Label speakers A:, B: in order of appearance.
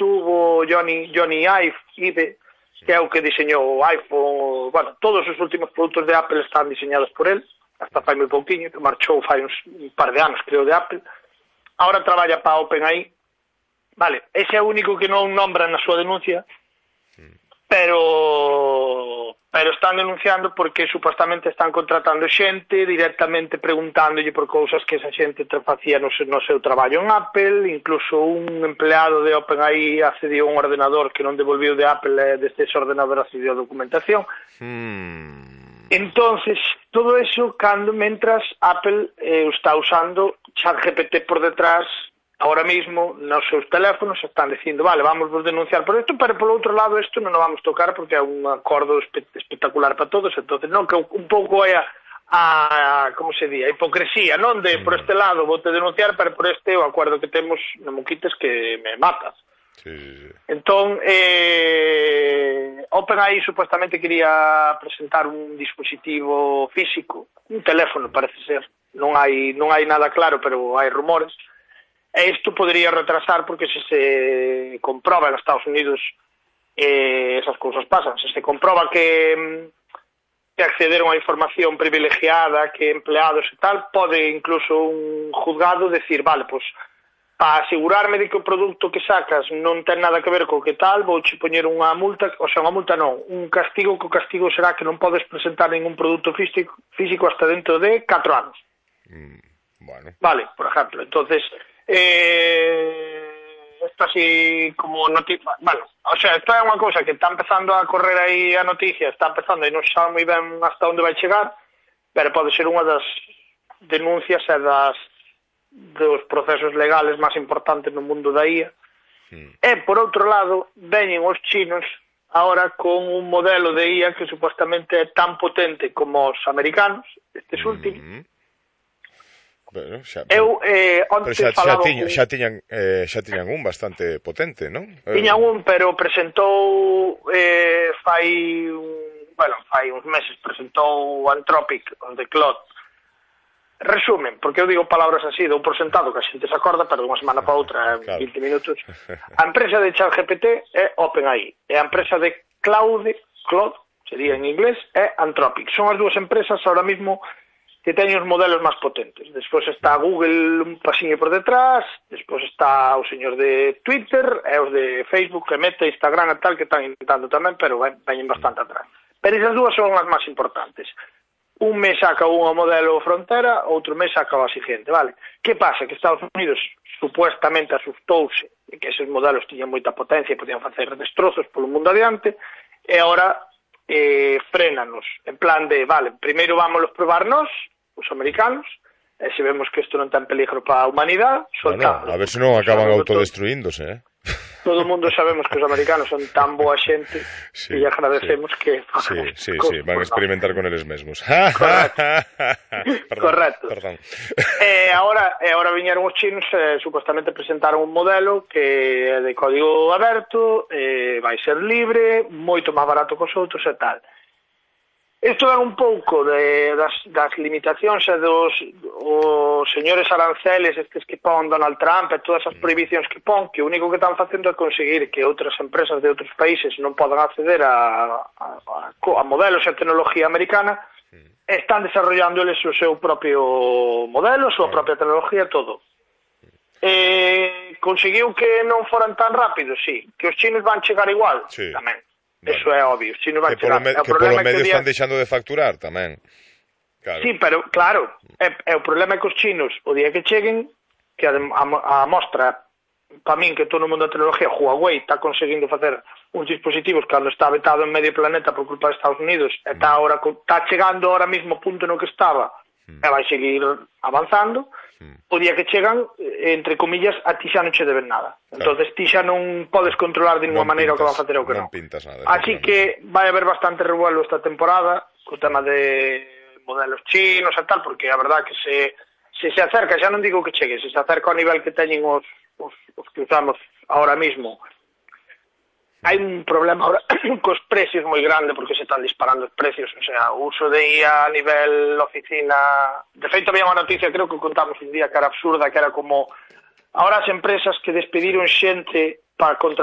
A: estuvo Johnny Ive, que é o que diseñou o iPhone. Bueno, todos os últimos produtos de Apple están diseñados por él, hasta fai moi pouquiño, que marchou fai un par de anos, creo, de Apple. Ahora traballa para OpenAI. Vale, ese é o único que non nombran na súa denuncia, pero están denunciando porque supostamente están contratando xente directamente preguntándolle por cousas que esa xente facía no seu traballo en Apple. Incluso un empleado de OpenAI accediu a un ordenador que non devolviu de Apple, desde ese ordenador accediu a documentación. Entonces, todo eso mentras Apple está usando ChatGPT por detrás. Ahora mismo, nos seus teléfonos están dicindo, vale, vamos a denunciar por isto, pero polo outro lado isto non nos vamos tocar porque é un acordo espectacular para todos. Entonces, non, que un pouco é como se di, a hipocresía, non? De, por este lado, vou te denunciar, pero por este o acordo que temos, non me quites que me matas. Sí. Entón, OpenAI supuestamente quería presentar un dispositivo físico, un teléfono, parece ser. Non hai nada claro, pero hai rumores. E isto podría retrasar porque se comproba en Estados Unidos esas cousas pasan. Se comproba que accederon a información privilegiada, que empleados e tal, pode incluso un juzgado decir, vale, pois, para asegurarme de que o produto que sacas non ten nada que ver co que tal, vouche poñer unha multa, o sea, unha multa non, un castigo, que o castigo será que non podes presentar ningún produto físico hasta dentro de 4 anos. Bueno. Vale, por ejemplo. Entonces, esto así como noticia, bueno, o sea, esto é unha cousa que está empezando a correr aí a noticia, está empezando e non sabe moi ben hasta onde vai chegar, pero pode ser unha das denuncias e dos procesos legales máis importantes no mundo da IA. E, por outro lado, veñen os chinos ahora con un modelo de IA que supostamente é tan potente como os americanos, estes últimos.
B: Bueno, xa tiñan un bastante potente, non?
A: Tiñan un, pero presentou fai uns meses presentou Anthropic, onde Claude. Resumen, porque eu digo palabras así, dou por sentado que a xente se acorda, pero unha semana para outra, claro. 20 minutos. A empresa de ChatGPT é OpenAI, e a empresa de Claude, sería en inglés, é Anthropic. Son as dúas empresas ahora mismo que teñen os modelos máis potentes. Despois está Google un pasiño por detrás, despois está o señor de Twitter, e os de Facebook, e Meta, Instagram e tal, que están intentando tamén, pero veñen bastante atrás. Pero esas dúas son as máis importantes. Un mes saca unha modelo frontera, outro mes saca a seguinte, vale? Que pasa? Que Estados Unidos supuestamente asustouse de que esos modelos tiñan moita potencia e podían facer destrozos polo mundo adiante, e agora frenanos, en plan de, vale, primeiro vámonos probar nós, os americanos, e se vemos que isto non ten peligro para a humanidade, soltamos.
B: Bueno, a ver se non acaban autodestruíndose,
A: Todo o mundo sabemos que os americanos son tan boa xente que lle agradecemos que...
B: Sí, van a experimentar con eles mesmos.
A: Correcto.
B: Perdón.
A: E agora viñeron os chinos, supostamente presentaron un modelo que é de código aberto, vai ser libre, moito máis barato que os outros e tal. Isto é un pouco das limitacións e dos señores aranceles estes que pon Donald Trump e todas as prohibicións que pon, que o único que están facendo é conseguir que outras empresas de outros países non podan acceder a modelos e tecnología americana, están desarrollándoles o seu propio modelo, a súa propia tecnología, todo. Conseguiu que non foran tan rápidos, sí. Que os chinos van chegar igual, tamén. Vale. Eso é obvio, si non vai chegar.
B: Que polo medio están deixando de facturar tamén.
A: Claro. Sí, pero claro, o problema é que os chinos, o día que cheguen, que a mostra, para min, que todo o mundo da tecnología, Huawei está conseguindo facer uns dispositivos cando está vetado en medio planeta por culpa de Estados Unidos, e está chegando ahora mismo ao punto no que estaba, e vai seguir avanzando. O día que chegan, entre comillas, a ti xa non che deben nada. Entonces ti xa non podes controlar de ninguna maneira o que van a facer ou que non. Así que vai haber bastante revuelo esta temporada co tema de modelos chinos e tal, porque a verdad que se acerca, xa non digo que chegue, se acerca ao nivel que teñen os que usamos ahora mismo. Hai un problema ahora cos precios moi grande porque se están disparando os precios, o sea, o uso de IA a nivel oficina. De feito, había unha noticia, creo que contamos un día, que era absurda, que era como ahora as empresas que despediron xente para